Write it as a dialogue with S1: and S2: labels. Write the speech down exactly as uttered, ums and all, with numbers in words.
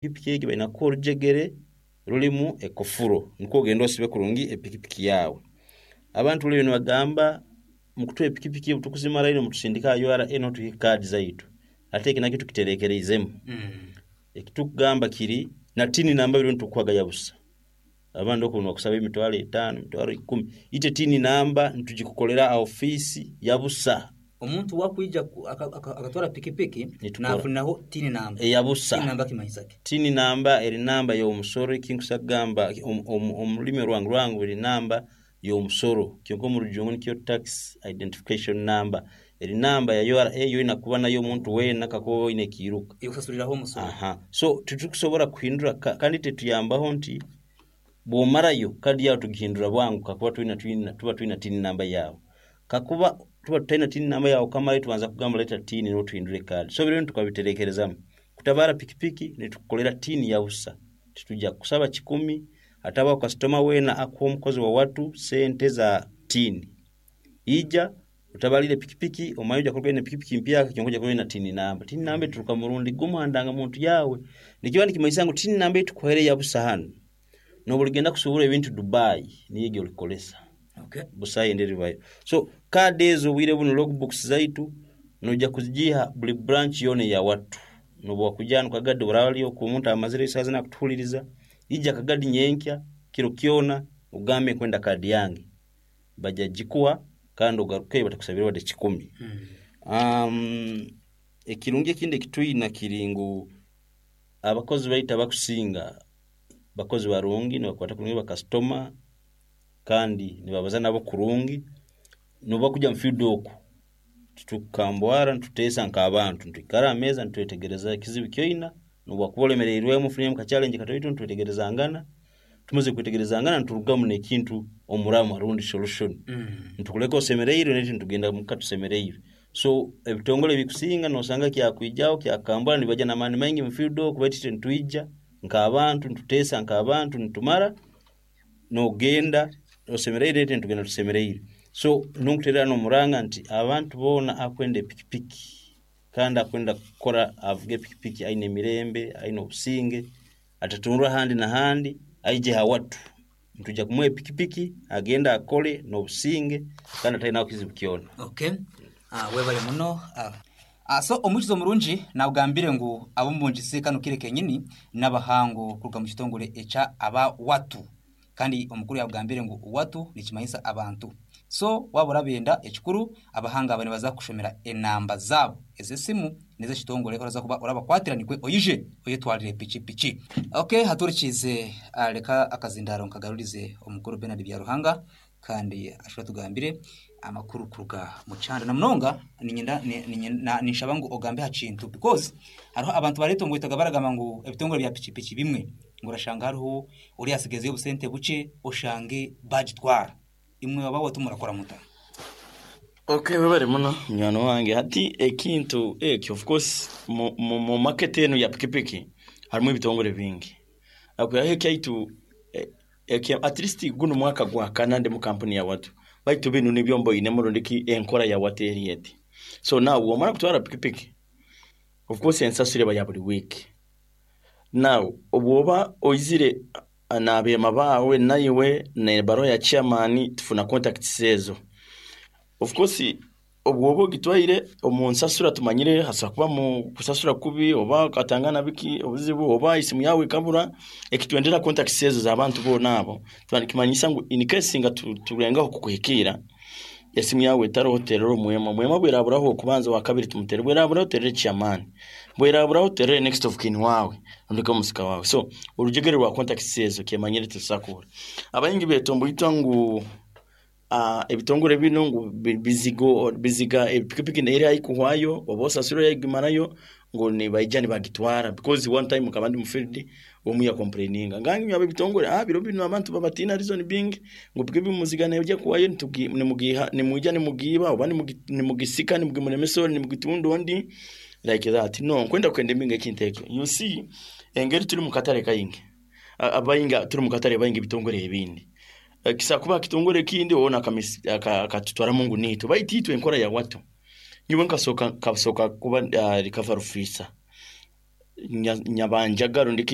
S1: Epikipiki egi baina kukuha orujegere rurimu ekofuro nikwo ogende osibe kurungi epikipiki yaawe. Abantu buli nibagamba mukutuha epikipiki obu tukuzimarayo nimutusindika aha U R A niho tuihe kaadi zaitu, ate eki nakyo tukitereekereizemu. Ekitukugamba kiri na TIN namba biro nitukuhaga ya busa. Abandi oku nibakusaba emitwaro etaano, emitwaro ikumi, itwe TIN namba nitugikukolera aha ofiisi ya busa.
S2: Omuntu wakwija akatwara pikipiki
S1: Nitukora.
S2: Nafunaho TIN namba.
S1: Eya busa.
S2: TIN namba kimanyisa ki?
S1: TIN namba eri namba y'omusoro. Ekinkusa kugamba omu- omu omu rulimi orwangu rwangu, eri namba y'omusoro, kyonka omu Rujungu nikyo tax identification number. Eri namba ya U R A yoina kuba nayo omuntu weena kakuba oba oine ekiiruka.
S2: Ekusasuliraho omusoro.
S1: Aha, so titukusobola kuhindura ka- kandi tetuyambaho nti bw'omarayo kadi yawe tugihindura bwangu kakuba twina, twina, tuba twina TIN namba yawe. Kakuba tuba tutaina TIN namba yawe okamarayo, tubanza kugamba leta TIN niho tuhindure kadi. So biro tukabiterekerezamu. Kutabara pikipiki nitukukolera TIN ya busa, titujja kukusaba kikumi. Hatabaho kasitoma weena akuha omukozi wa watu sente za TIN. Ija utabalire pikipiki, omanye ojja kuruga oine pikipiki mpyaka, kyonka ojja kuba oine TIN namba. TIN namba eturuka murundi gumu ha ndangamuntu yawe. Nikiba nikimanyisa ngu TIN namba eitukuhaire ya busa hanu, nobu oligenda kusuubura ebintu Dubai, niyo egi olikolesa.
S2: Okay.
S1: Busayo endi eribayo. So kaadi ezo obwire bunu, logbooks zaitu noija kuzigiha buli branch yoona eya watu. Nobu wakuja hanu Kagadi, oraba oli oku omuntu amazire esaaha zinu akutuhuliriza, ija Kagadi nyenkya kiro kyona ogambe nkwenda kaadi yange, bajja gikuha kandi ogarukeyo batakusabire wadde kikumi. um, ekirungi ekindi ekitwina kiri ngu abakozi baitu abakusinga bakozi barungi, nibakwata kurungi bakasitoma kandi nibabaza nabo kurungi. Nobu bakuja mu field oku, titukukambwara, nituteesa nk'abantu, nitwikara aha meeza nitwetegereza ekizibu kyoina. Nobu wakuba olemereirwemu, ofuniremu ka challenge katoito, nitwetegerezangana. Tumaze kwetegerezangana, niturugamu n'ekintu omuramwa rundi solution. Nitukuleka osemereirwe, naitwe nitugenda muka tusemereirwe. So ebitongole ebikusinga nosanga kyakwijaho kyakambwara, nibaija n'amaani maingi mu field oku, baitu itwe nitwija nk'abantu, nituteesa nk'abantu, nitumara nogenda osemereirwe, naitwe nitugenda tusemereirwe. So nonkuteerera n'omuranga nti abantu boona akwenda epikipiki kandi akwenda kukora avuge epikipiki aine emirembe, aine obusinge, atatundwa ahandi n'ahandi, aije ha watu, nitujja kumuha epikipiki agende akole n'obusinge kandi atalinaho kizibu kyona.
S2: Okay. Ah, webale muno. Ah. Ah, so omwikizo omurungi nagambire ngu ab'omumbungisi kano kire kenyini n'abahango kuruga mu kitongole ekya aba watu, kandi omukuru yagambire ngu watu nikimanyisa abantu. So waba orabenda ekikuru, abahanga aba nibaza kukushomera enamba zaabo ez'esimu n'ez'ekitongole oraza kuba orabakwatira nikwe oyije oyetwarire pikipiki. Okay, haturikize, ah, reka akazindaro nkagarurize omukuru Bernard Byaruhanga kandi ashobora tugambire amakuru kuruga mu kyanda. Na munonga ninyenda ni- ni- na- ninshaba ngu ogambe ha kintu, because hariho abantu baretongoitaga baragamba ngu ebitongole bya pikipiki bimwe ngu orashanga hariho ori asigezeyo obusente bukye oshange bagitwara. Imwe aba watu murakora muta?
S3: Okay, webale muno munywani wange. Hati ekintu ekyo, of course mu, mu, mu market enu ya pikipiki harimu ebitongole bingi. Akwihaho ekyaitu eh, eki at least guno mwaka gwa kana ndi mu kampuni ya watu, baitu binu nibyo mboinemu rundiki enkora ya watu eri eti. So now wamara kutwara pikipiki, of course ensasura eba ya buli week. Now obwoba oizire ah, n'abeema baawe naiwe nebaruha ya chairman, tufuna contacts ezo. Of course obwoba ogitwaire omu nsasura, tumanyire hasobola kuba mu kusasura kubi oba okatangana biki obuzibu oba isimu yawe ekabura. Ekitwendera contacts ezo z'abantu boona abo, kimanyisa ngu in case nga tu- turengaho kukuhikiira, esimu yawe etaroho, terera omwema. Omwema bweraburaho okubanza, wakabiri tumutere, bweraburaho terere chairman, bweraburaho terere next of kin wawe ondeke omusika wawe. So orujegere rwa contacts ezo kyemanyire tusakura. Abaingi betomboitwa ngu uh, ebitongole bino ngu bi- bizigo biziga epikipiki eri haikuhwayo oba osasura yagimarayo ngu nibaija nibagitwara, because one time nkaba ndi mu field, omu ya complaininga ngangi nyaba ebitongole, ah, biro bino abantu babatina, reason being ngu pikipiki muziga nejja kuwayo, nitugi- nimugiha nimwija nimugiiba oba nimugi- nimugisika nimugimulemesa nimugitunda ondi like that. No nkwenda kwenda embinga ekintu ekyo. You see, engeri turi mu katale kaingi, A- abainga turi mu katale baingi ebitongole ebindi. Eh, kisa kuba kitongole ekindi ona akatutwaramu ngu niitwe, baitu itwe enkora ya watu, nyiwe nkasoka nkasoka kuba uh, recovery officer. nya- nyabanjaga rundiki.